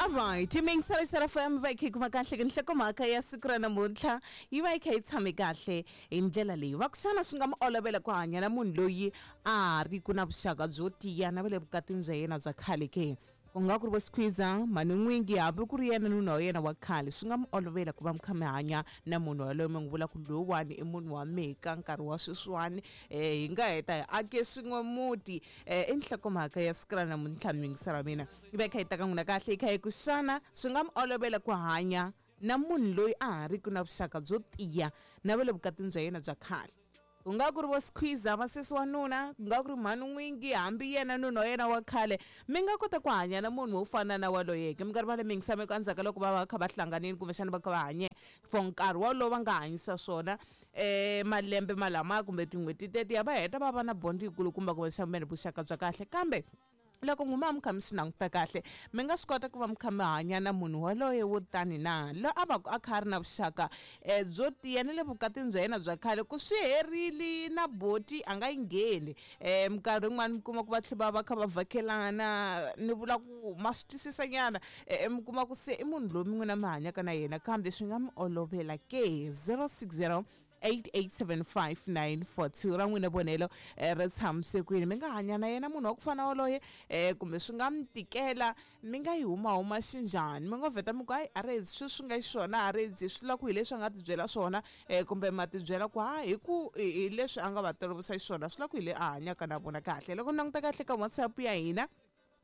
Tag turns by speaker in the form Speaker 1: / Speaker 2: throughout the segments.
Speaker 1: Alright, yingisela Star FM va yi kha yi kuma kahle ke nhlokomhaka ya siku ra namuntlha yi va yi kha yi tshame kahle hi ndlela leyi va ku xana swi nga mi olovela ku hanya na munhu loyi a ha ri ku na vuxaka byo tiya na va le vukatini bya yena bya khale ke ku nga ku ri vo squeezer mhani n'wingi hambi ku ri yena nuna wa yena wa khale swi nga mi olovela ku va mi kha mi hanya na munhu yaloye mi n'wi vula ku lowuwani i munhu wa mehe ka nkarhi wa sweswiwani hi nga heta hi ake swin'we muti i nhlokomhaka ya siku ra namuntlha miyingiselo wa mina yi va yi kha yi ta ka n'wina kahle yi kha yi ku xana swi nga mi olovela ku hanya na munhu loyi a ha riki na vuxaka byo tiya na va le vukatini bya yena bya khale ku nga ku ri vo squeezer vasesi wa nuna ku nga ku ri mhani n'wingi hambi yena nuna wa yena wa khale mi nga kota ku hanya na munhu wo fana na waloyeke mi nga rivali miyingisa mi ku endzhaku ka loko va va kha va hlanganile kumbexana va kha va hanye for nkarhi wolowo va nga hanyisa swona malembe malamaya kumbe tin'hweti tetiya va heta va va na bond yikulukumba kumbexana vuxaka bya kahle kambe loko n'wi ma mi kha mi swi languta kahle mi nga swi kota ku va mi kha mi hanya na munhu waloye wo tani na loyi a va ku a kha a ri na vuxaka byo tiya na le vukatini bya yena bya khale ku swi herile na boti a nga yi ngheni minkarhi yin'wani mi kuma ku va tlhela va va kha va vhakelana ni vula ku ma swi twisisa nyana mi kuma ku se i munhu loyi mi n'wina mi hanyaka na yena kambe swi nga mi olovela ke 060 8875942 ra n'wina vonelo ri tshamise kwini mi nga hanya na yena munhu wa ku fana woloye kumbe swi nga mi tikela mi nga yi humahuma xinjhani mi ngo vheta mi ku hayi a ri sweswi swi nga xiswona a ri swi la ku hi leswi a nga tibyela swona kumbe ma tibyela ku ha hi ku hi leswi a nga va tolovisa xiswona swi la ku hi le a hanyaka na vona kahle loko ni languta kahle ka WhatsApp ya hina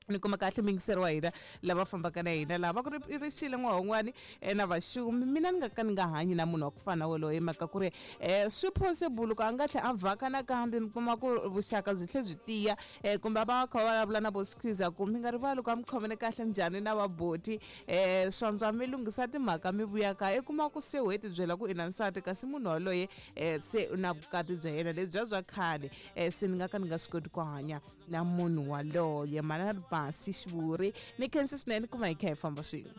Speaker 1: ni kuma kahle muyingiseri wa hina lava fambaka na hina laha va ku ri ri xile n'wahon'wani na vaxumi mina ni nga ka ni nga hanyi na munhu wa ku fana na wolowo hi mhaka ku ri swi possible ku a nga tlhela a vhaka nakambe mi kuma ku vuxaka byi tlhe byi tiya kumbe va kha va vulavula na vo squeezer ku mi nga rivali ku a mi khomene kahle njhani na vaboti swantswa mi lunghisa timhaka mi vuya kaya i kuma ku se whe tibyela ku i na nsati kasi munhu waloye se u na vukati bya yena lebyiya bya khale se ni nga ka ni nga swi koti ku hanya na munhu waloye manana basi xivuri ni khensa swinene ku va hi kha hi famba swin'we.